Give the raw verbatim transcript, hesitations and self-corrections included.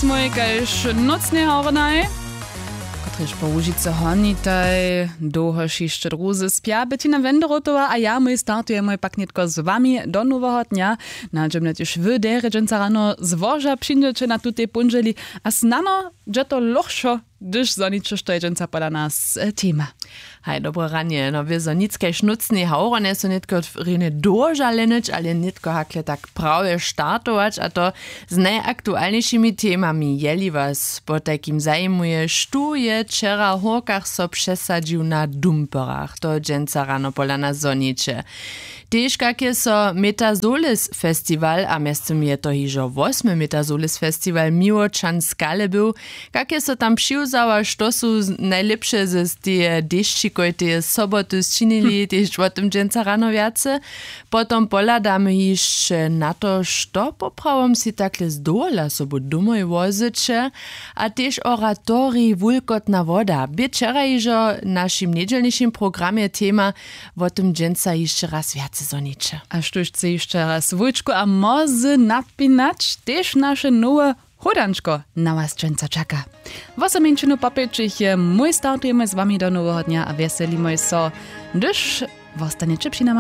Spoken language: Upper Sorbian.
Mój kaž nócnej hornaj, kotrež po łužicy honitaj dołhož hišće druzy spja, bytina wendorotowa a ja mój startujemoj pak nětko z wami do noweho dnja. Nadźemnje tež wy derje dźensa rano złoža přińdźeće na tutej póndźeli a snano dźe to lochšo, hdyž zhoniće što je dźensa pola nas tema. Haj dobre ranje no wězo nic kaž nócnej hawro njesu nětko rjenje dołoža lehnyć ale nětko hakle tak prawje startować a to z najaktualnjejšimi temami jeli was potajkim zajimuje štó je wčera w hórkach so přesadźił na dumperach to dźensa rano pola nas zhoniće. Tež kak je so metazolis festiwal a mjeztym je to hižo wosmy metazolis festiwal miłočan skale był, kak je so tam přiwzał a što su najlěpše z teje dešćikojteje soboty sčinili tež wo tym dźensa rano wjace. Potom pohladamy hišće na to što poprawom sej takle zdołhola sobu domoj wozyće. A tež oratorij wulkotna woda bě wčera hižo w našim njedźelnišim programje tema. Wo tym dźensa hišće raz wjace zhoniće. A štóž chce hišće raz wójčku a mozy napinać tež naše nowe hódančko na was dźensa čaka. Wosomjeńšinu popjećich je mój startujemy z wami do noweho dnja a wjeselimoj so, hdyž wostanjeće při nama.